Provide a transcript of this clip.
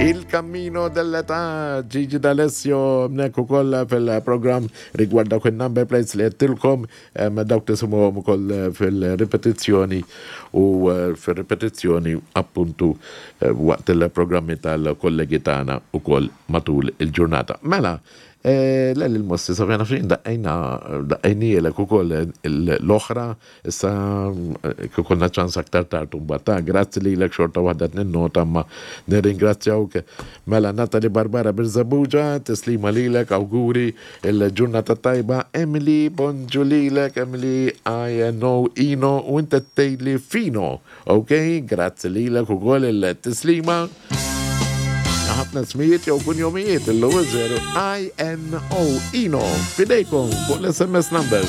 Il Cammino dell'Età, Gigi D'Alessio, mnek u koll fil-program rigward dawk il-number plates li għettilkom, dawk tisimuhom ukoll fil-ripetizzjoni u eh, fil-ripetizzjoni appuntu eh, waqt il-programmi tal-kollegi tagħna ukoll matul il-ġurnata. Mela, eh, l-mossi safjana fin daqqejna daqqejnielek ukoll l-oħra Issa kif ikollna ċans aktar tard imbagħad. Ta, grazzi lilek xorta waħda qed ninnota imma nirringrazzjawk. Mela Natalie Barbara Birżebbuġa, tislima lilek, awguri il-ġurnata tajba. Emily, bonġu lilek, Emily I N O Ino u inti qed tgħidli Fino. Ok, grazzi lilek ukoll il-tislima. Ħafna smijiet jew kunjomijiet illum 0 I N O Ino fidejkom fuq l-SMS number.